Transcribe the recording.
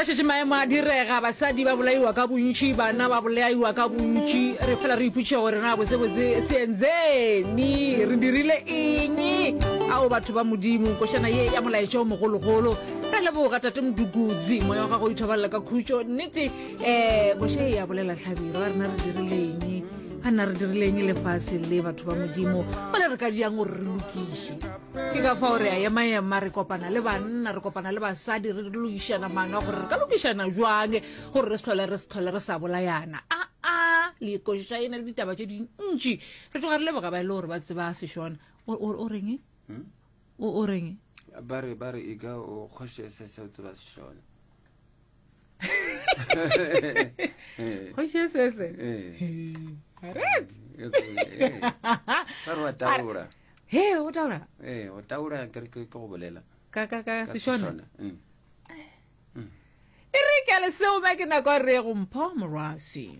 šetše maemo a direga, basadi ba bolaiwa ka bontši, bana ba bolaiwa ka bontši, re fela re ipotšiša gore na botsebotse se enzeni, re dirile eng? Ao batho ba Modimo, košana ye ya molaetša o mogologolo. Re leboga Tate Mdukudzi, moya wa gago o ithobalela ka khutšo. Nnete, um koša ye ya bolela hlabirwa, ba rena re dirile eng? Ga nna re dirile eng lefase le batho ba Modimo? Gole re ka diang gore re lokiše? Ke ka fao re a ema-ema, re kopana le banna, re kopana le basadi, re lokišana maano a gore re ka lokišana jwang gore re se hlole re se hlole re sa bolayana. Aa, le koša e na le ditaba tše dintši. Re tloga re leboga ba e le gore ba tseba Sešona. O, o, o reng? Hmm? O, o reng? Ba re, ba re e ka o kgoši se se o tseba Sešona. Kgoši se se. Eh. Ba re wa taura. He, o taura? Ee, o taura ke re ke go bolela. Ka ka ka Sešona. Mm. Mm. E re ke le seo ba ke nako re go mpho morwasi.